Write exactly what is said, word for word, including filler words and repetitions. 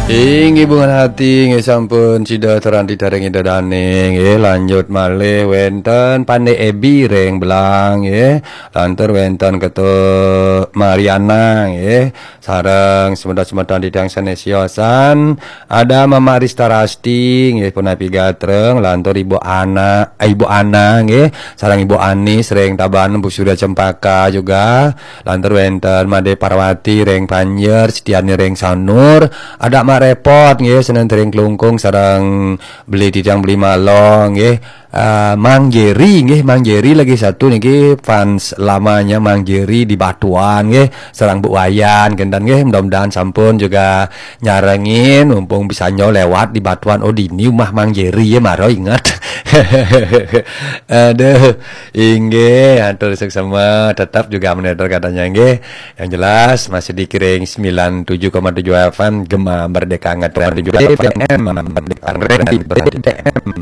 Inggih, bungan hati, nggih, sampun sida terang ditaring Ida Dane, nggih, lanjut malih wenten Pande Ebi ring Belang, nggih, lantur wenten Ketua Mariana, nggih, sareng semeton-semeton titiang sane siosan, ada Mama Rista Rasti, nggih, punapi gatreng, lantur Ibu Ana, eh, Ibu Ana, nggih, sareng Ibu Anis ring Tabanan, Bu Surya Cempaka juga, lantur wenten Made Parwati ring Panjer, Setiani ring Sanur, ada Mak Repot, nggih, senen ring Klungkung, sareng beli titiang beli malong, nggih. Eh, Mang Jerry, nggih, Mang Jerry lagi satu niki fans lamanya Mang Jerry di Batuan, nggih, sareng Bu Wayan, kenten, nggih, mudah-mudahan sampun juga nyarengin, mumpung bisa nyol lewat di Batuan, oh, dini umah Mang Jerry, ya, maro inget. Aduh, inggih, atur suksema, tetap juga monitor katanya, nggih. Yang jelas, masih dikiring sembilan tujuh koma tujuh F M, Gema Merdeka Ngetren B B M, Merdeka Ngetren B B M.